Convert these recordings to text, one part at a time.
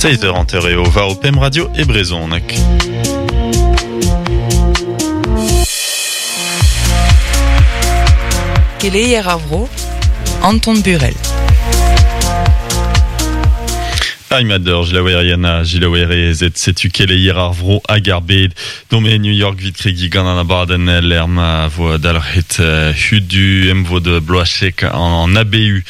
Seizh eur hanter eo war ho pemp radio e brezhoneg. Keleier ar vro, Anton Burel. Aimador, jilaouerien ha jilaouerezed, setu keleier ar vro hag ar bed. Dome e New York 'vit kregiñ gant an abadenn lec'h ma vo dalc'het hudu emvod bloazek an ABU.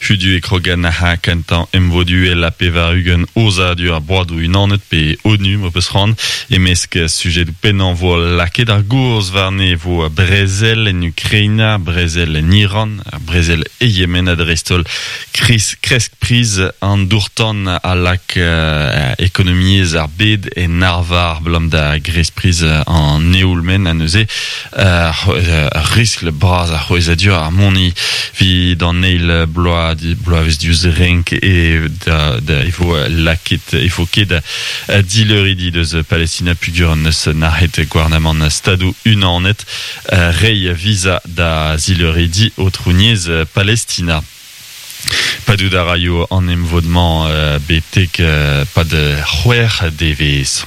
Hudu e krogan ha kentañ emvod uhel ha 80 aozadur ar Broadoù Unanet pe ONU m'ho peus c'hoant. E-mesk sujedoù pennañ vo lakaet ar gaoz warne vo brezel en Ukraina, brezel en Iran, brezel e Yemen ha dreist-holl kresk priz an dour-tan a lak ekonomiezh ar bed en arvar abalamour da gresk priz an eoul-maen ha neuze ur riskl bras a c'hwezhadur ar moni evit an eil bloaz bloavezh diouzh renk e da, da, e vo lakaet e vo ket dileuridi deus Palestina pugur neus nac'het gouarnamant Stadoù Unanet reiñ visa da zileuridi aotrouniezh Palestina. Padout a raio an emvod-mañ betek pad c'hwec'h devezh.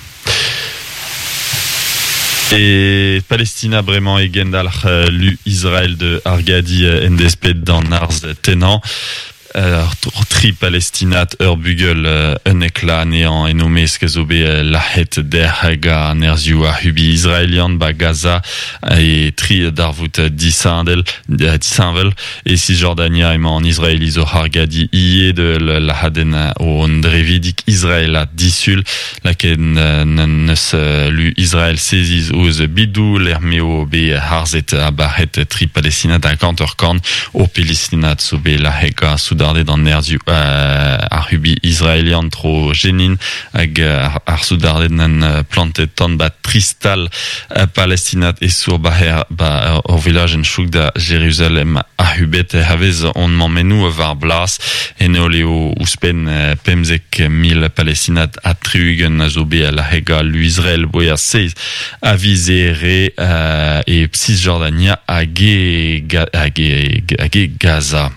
E Palestina bremañ e gendalc'h lu Israel de argadiñ en desped d'an arz tennañ. Tri Palestinad, ur bugel unnek la anezhañ en o mesk a zo bet lazhet dec'h gant nerzhioù ar c'hubi israelian ba Gaza e tri darvoud disheñvel. E Cisjordania emañ an Israeliz oc'h argadiñ ivez de lazhadenn o drevidig israelat disul. Lakaet n'eus lu Israel seziz ouzh bidoù lec'h m'eo bet harzet ha bac'het tri Palestinad hag hanter-kant o Palestinad zo bet lazhet gant soudarded an nerzhioù ac'hubiñ israelian tro Jenin hag ar soudarded n'en plantet tan ba tri stal palestinat e sour ba ba ur vilajenn chouk da Jeruzalem ac'hubet hervez hon mammennoù war blas. En holl eo ouzhpenn 15,000 Palestinad ha 60 a zo bet lazhet gant lu Israel boa seizh a viz Here e Cisjordania hag e, hag e, hag e Gaza.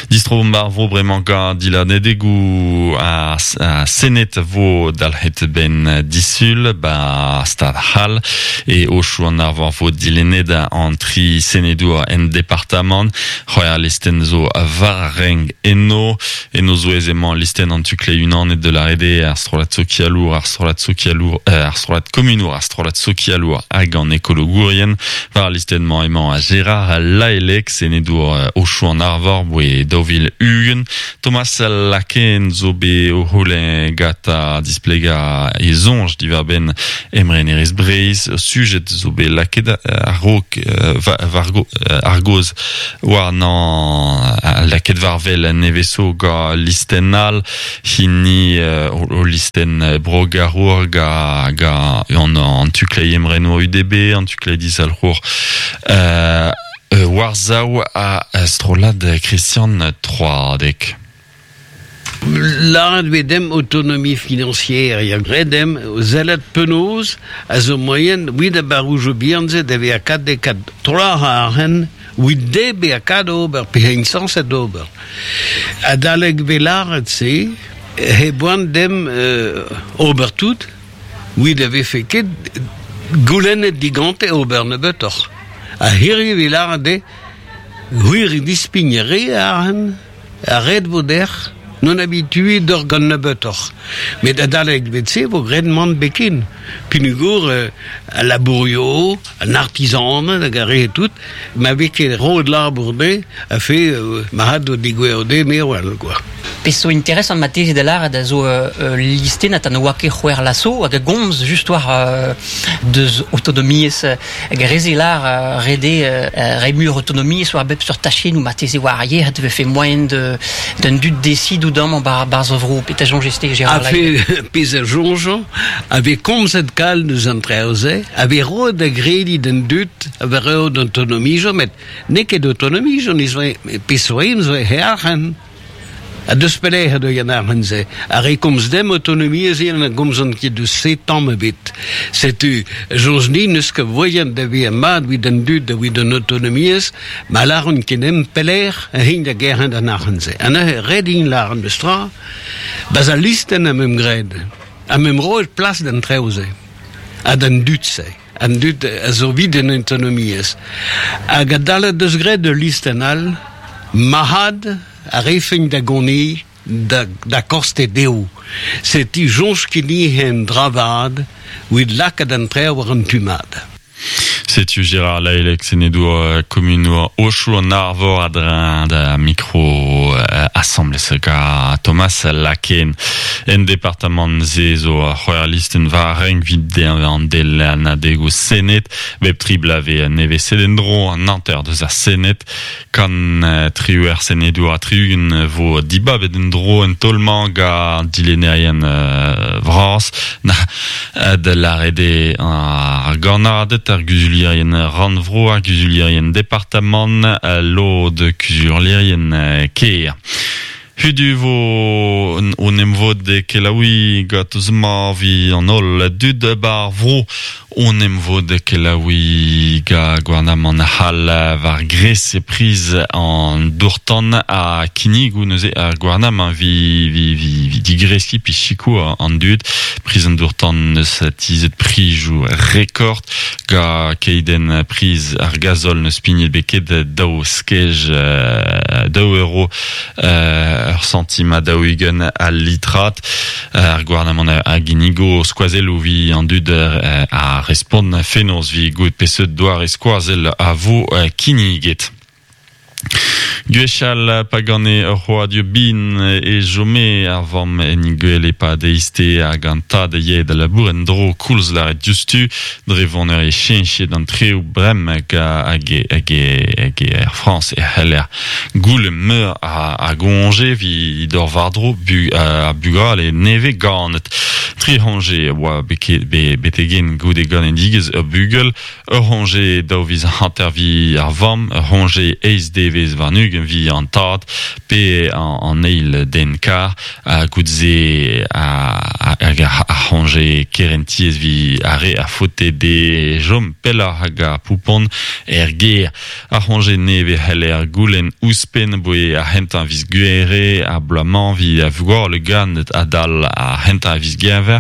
Distro ar vro bremañ gant dilennadegoù ar Sened vo dalc'het 'benn disul 'ba Stad C'hall. E Aochou an Arvor vo dilennet an tri senedour en departamant. C'hwec'h listenn zo war ar renk eno. En o zouez emañ listenn an tu-kleiz unanet de la RD, ar strollad sokialour, ar strollad sokialour, ar strollad komunour, ar strollad sokialour hag an ekologourien. War al listenn-mañ emañ Gérard Laelec, senedour Aochou an Arvor, boe 2020. Thomas Laken zo bet o c'houlenn ganta displegañ e soñj diwar-benn emrenerezh Breizh. Sujet zo bet lakaet a-raok war ar gaoz warnañ lakaet war-wel neveso gant listenn all hini o listenn brogarour gant an tu-kleiz emrenour UDB, an tu-kleiz dizalc'hour war-sav ha strollad Christian Troadec. Lâret vez demp autonomie financière, ya graet demp sellet penaos a zo moaien evit ar barroujoù bihan-se da vezañ kat de kat troac'h arc'hant evit dezhe bezañ kat ober pe int sañset ober. Adalek vez lâret se he boan demp ober tout evit a vefe ket goulennet digante ober nebeutoc'h. Ha hiriv vez lâret dezhe gwir dispign re arc'hant. Ha ret vo dec'h n'on habituet d'ur gant nebeutoc'h. Met adalek bet-se vo graet mann beken. Peogwir al labourio, an artizaned hag ar re tout, ma vez ket roet labour dezhe, a fe ma had o degouezho dezhe me wel quoi. Pezh zo interesant marteze da lâret a zo ul listennad ha ne oa ket c'hwec'h laso hag a gomz just war deus autonomiezh Hag ar re-se lâr ret eo reiñ muioc'h autonomiezh war bep seurt tachennoù marteze war ar yec'hed e vefe moaien d'an dud desidout amañ 'barzh ar vro. Petra soñjez-te Gérard A fe pezh a soñjañ a vez komzet kalz deus an traoù-se, a vez roet da grediñ d'an dud a vez roet autonomiezh met n'eo ket autonomiezh pezh zo zo he arc'hant. Ha deus pelec'h eo an arc'hant-se? Ar re komz demp autonomiezh eo na gomzont ket deus se tamm ebet. Setu, soñj din n'eus ket voaien da vezañ mat evit an dud evit an autonomiezh, ma lâront ket demp pelec'h int da gerc'hat an arc'hant-se. Ha neuze ret int lâret memes tra, Bas al listen am em graet. Am em roet plas d'an traoù-se. Ha d'an dud-se. An dud a zo vid en autonomiezh. Hag adalek deus graet ul listenn all, marc'had a refent da goniñ da, da koste dezho. Setu soñj ket en dra vat evit lakaat an traoù war an tu mat. Setu Gérard Laelec senedour komunour Ochoù an Arvor a-dreñv da mikro asambles ga Thomas Laken. En departamant se zo ur c'hwec'h listenn war renk 'vit dezhañ an delennadegoù Sened. Bep tri bloaz 'vez neveset en-dro an hanter deus ar Sened. Kant triwec'h senedour ha 60 vo dibabet en-dro en taol-mañ gant dilennerien vras. Da lâret eo ar gannaded, ar guzulierien rannvro, ar guzulierien departamant, lod kuzulierien kêr. Hudu vo o 'n em vod e kelaouiñ gant ma vi an holl dud 'ba ar vro. O 'n em vod e kelaouiñ gant gouarnamant c'hall war gres e priz an dour-tan ha kinnigoù neuze ar gouarnamant vi vi vi digreskiñ pe sikour an dud. Priz an dour-tan 'neus tizhet prizioù rekord gant keidenn priz ar gazol 'neus pignet beket daou skej daou euro ur santim ha 40 al litrad. Ar gouarnamant a ginnigo skoazelloù 'vit an dud a respont fenoz 'vit gouzout peseurt doare skoazell a vo kinniget. Gwechall pa gane ur c'hroadur bihan e chome ar vamm en he gwele e-pad eizhtez hag an tad a yae da labour en-dro koulz lâret diouzhtu dre voneur e cheñchet an treoù bremañ hag hag hag er Frañs e c'heller Goulenn meur a goñje evit ober war-dro ar bugale nevez ganet. Tri c'hoñje a oa betek-henn goude ganedigezh ur bugel, ur c'hoñje daou viz hanter evit ar vamm, ur c'hoñje eizh devezh warn-ugent evit an tad pe an eil den kar, ha goude-se hag ar c'hoñje kerentiezh evit ar re a faote dezhe chom pelloc'h hag ar poupon er gêr. Ar c'hoñje nevez c'heller goulenn ouzhpenn aboe ar c'hentañ viz Gouhere ar bloaz-mañ evit ar vugale ganet adal ar c'hentañ viz Genver.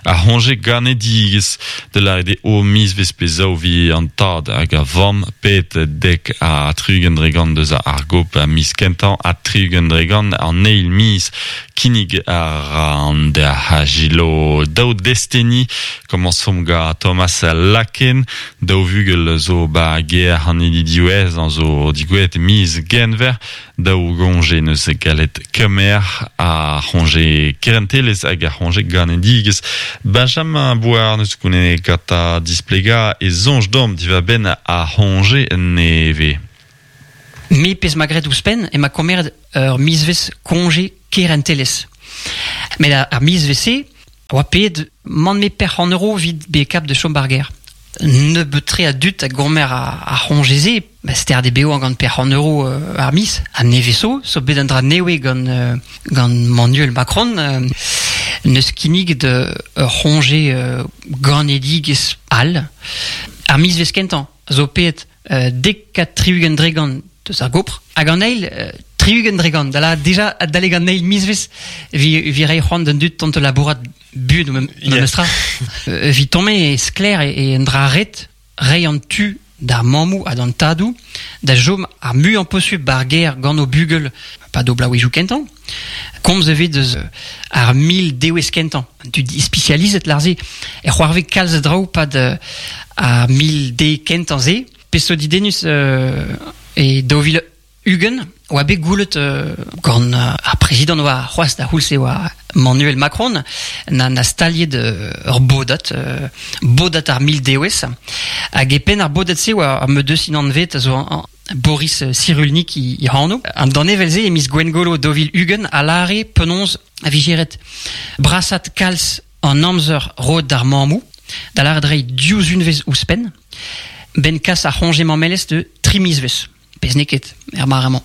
Ar c'hoñje ganedigezh, da lâret eo mizvezh pe zaou evit an tad hag ar vamm, pet 70% deus ar gop ar miz kentañ ha 60% an eil miz. Kinnig a ra an derc'hajilo daou desteni. Komañsomp gant Thomas Laken. Daou vugel zo 'ba gêr an hini diwezhañ zo digouezhet miz Genver. Daou goñje 'neus gallet kemer, ar c'hoñje kerentelezh hag ar c'hoñje ganedigezh. Benjamin Bouard 'neus goulennet gantañ displegañ e soñj deomp diwar-benn ar c'hoñje nevez. Me pezh 'ma graet ouzhpenn emañ komeret ur mizvezh koñje kerentelezh. Met ar mizvezh-se a oa paeet mann-me perc'h an euro evit bezañ kap da chom 'bar gêr. Nebeut-tre a dud a gomer ar c'hoñje-se, ba sterd eo bevañ gant perc'h an euro ar miz. Ha nevez zo, zo bet un dra nevez gant gant Manuel Macron, neus kinniget ur c'hoñje ganedigezh all. Ar mizvezh kentañ zo paeet 70% deus ar gopr hag an eil 60% da la deja adalek an eil mizvezh vi vi reiñ c'hoant d'an dud tont labourat buan memestra evit tommañ e sklaer e un dra ret reiñ an tu d'ar mammoù ha d'an tadoù da chom ar muiañ posubl ba'r gêr gant o bugel pad o bloavezhioù kentañ. Komz e vez deus ar mil dewezh kentañ. An dud ispisializet lâr-se e c'hoarvez kalz a draoù pad ar mil de kentañ-se. Pezh zo didennus e 2020 oa bet goulet gant ar prezidant oa c'hoazh da c'houlz-se oa Manuel Macron na, na staliet ur bodad, bodad ar mil dewezh. Hag e penn ar bodad-se oa ar medeus anvet a zo Boris Cyrulnik e anv. An danevell-se e miz Gwengolo 2020 a lâre penaos a vije ret brasat kalz an amzer roet d'ar mammoù, da lâret reiñ div unvezh ouzhpenn, 'benn kas ar c'hoñje mammelezh de tri mizvezh, pezh n'eo ket er mare-mañ.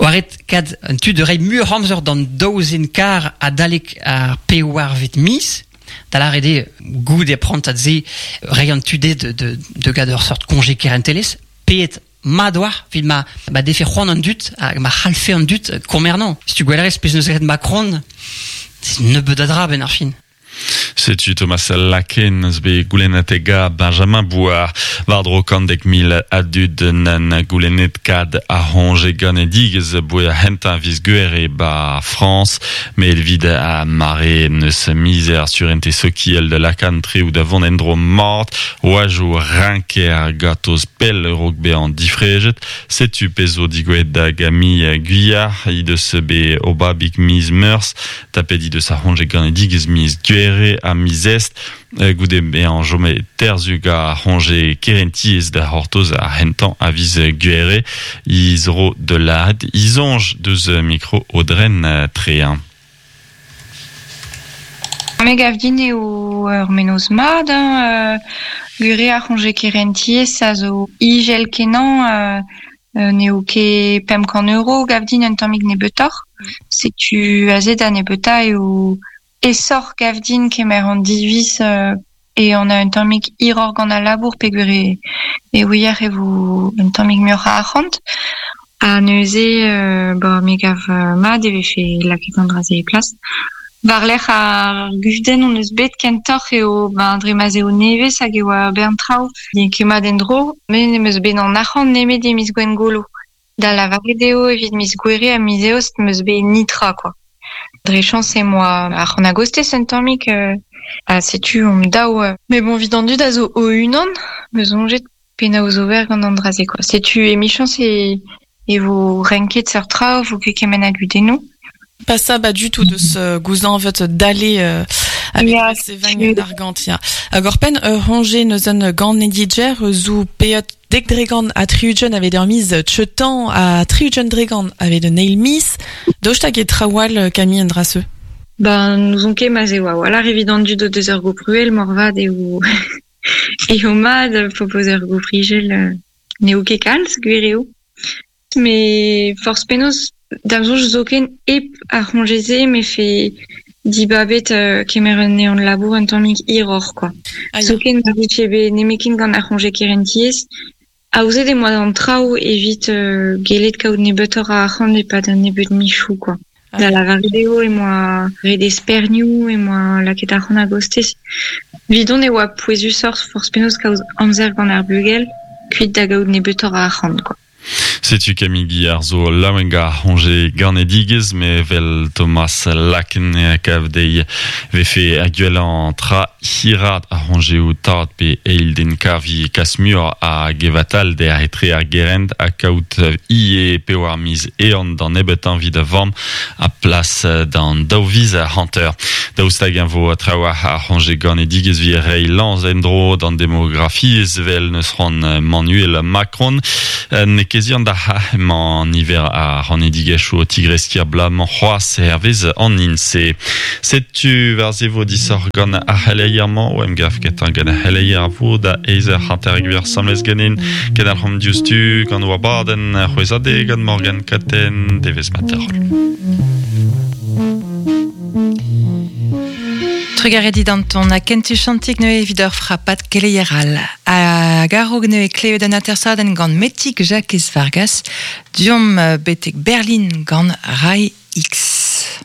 Oa ret kad an tu da reiñ muioc'h amzer d'an daou zen kar adalek ar pevarvet miz, da lâret eo goude prantad-se reiñ an tu dezhe de gad ur seurt koñje kerentelezh, Paeet mat oa evit ma ma defe c'hoant an dud hag ma c'hallfe an dud komernañ. Setu gwellerez pezh 'neus graet Macron. Nebeud a dra ben ar fin. Setu Thomas Laken eus bet goulennet Benjamin Bouard. War-dro kandek mil a dud nan goulennet kad a c'hoñje ganedigezh boe ar c'hentañ viz Gouere ba Frañs. Met evit a mare neus mizer surente sokial da lakaat treoù da vont en-dro mat. Oajoù rinker gatoz pell raok bezañ difrejet. Setu pezh zo digouezhet da Camille Guyard, he deus bet obabig miz Meurzh. Tapet he deus ar c'hoñje ganedigezh miz Gouere ha miz Est. Goude bezañ chomet terzhug ar c'hoñje kerentiezh da c'hortoz ar c'hentañ a viz Gouere, he zro da lâret he soñj deus mikro Aodren Trehin. Me gav din eo ur mennozh mat hein, gure ar c'hoñje kerentiezh a zo izel-kenañ n'eo ket 500 euro gav din un tammig nebeutoc'h. Setu aze da nebeutañ eo aesoc'h gav din kemer an diviz e on a un tammig hiroc'h gant al labour peogwir e ouier e vo un tammig muioc'h a arc'hant. Ha neuze ba me gav mat e vefe lakaet an dra-se e plas. War-lerc'h ar gudenn hon eus bet kentoc'h eo ben dre ma'z eo nevez hag e oa bern traoù n'eo ket mat en-dro. Me n'em eus bet an arc'hant nemet e miz Gwengolo. Da lavaret eo evit miz Gouere ha miz Eost 'm eus bet nitra quoi. Dre chañs em boa arc'hant a-gostez un tammig ha setu omp daou. Mais bon, evit an dud a zo o-unan, 'm eus soñjet penaos ober gant an dra-se quoi. Setu emichañs e e vo renket seurt traoù, vo ket kement a gudennoù. Pas ça ba du tout deus gouzañvet dale avec Ya, sevañ d'argant ya. Hag oc'hpenn ur c'hoñje neus un ganedigezh zo paeet dek dregant ha tri-ugent aveit ur miz cheutañ ha tri-ugent dregant aveit un eil miz. Daoust hag e traoù all Camille an dra-se? Ben, n'ouzon ket ma'z eo a-walc'h evit an dud o deus ur gopruel moarvat eo eo mat propoz ur goprijel n'eo ket kalz, gwir eo. Met forzh penaos, da'm soñj zoken hep ar c'hoñje-se 'mefe dibabet kemer un ehan-labour un tammig hiroc'h quoi. Ah ya. Zoken ma vije bet nemetken gant ar c'hoñje kerentiezh, aozet em boa an traoù evit gellet kaout nebeutoc'h a arc'hant e-pad un nebeud michoù quoi. Ah Da ya. lavaret eo em boa ret espernioù, em boa lakaet arc'hant a-gostez. Evidon e oa pouezusoc'h forzh penaos kaout amzer gant ar bugel, kuit da gaout nebeutoc'h a arc'hant quoi. Setu Camille Guillard zo laouen gant ar c'hoñje ganedigezh, met evel Thomas Laken kav dezhi vefe ar gwellañ tra hiraat ar c'hoñjeoù tad pe eil den kavi kas muioc'h a gevatal der etre ar gerent ha kaout ivez pewar miz ehan d'an nebeutañ evit da vamm ha plas d'an daou viz hanter. Daoust hag-eñ vo trawalc'h ar c'hoñje ganedigezh evit reiñ lañs en-dro d'an demografiezh evel n'eus c'hoant Manuel Macron. N'eo ket sur da emañ niver ar c'hanedigezhioù o tigreskiñ ar bloaz-mañ c'hoazh hervez an INSEE. Setu war se vo disoc'h gant ar c'heleier-mañ o emgav ketañ gant ar c'heleier a vo da eizh eur hanter gwir asambles ganin. Kendalc'homp diouzhtu gant o abadenn c'hwezhadeg gant Morgan Katen devezh mat Trugarez dit Anton, ha kentu chantik neuze evit ur frapad keleier all. Hag a-raok neuze klevet un atersadenn gant Metig Jakez Vargas, deomp betek Berlin gant Rai X.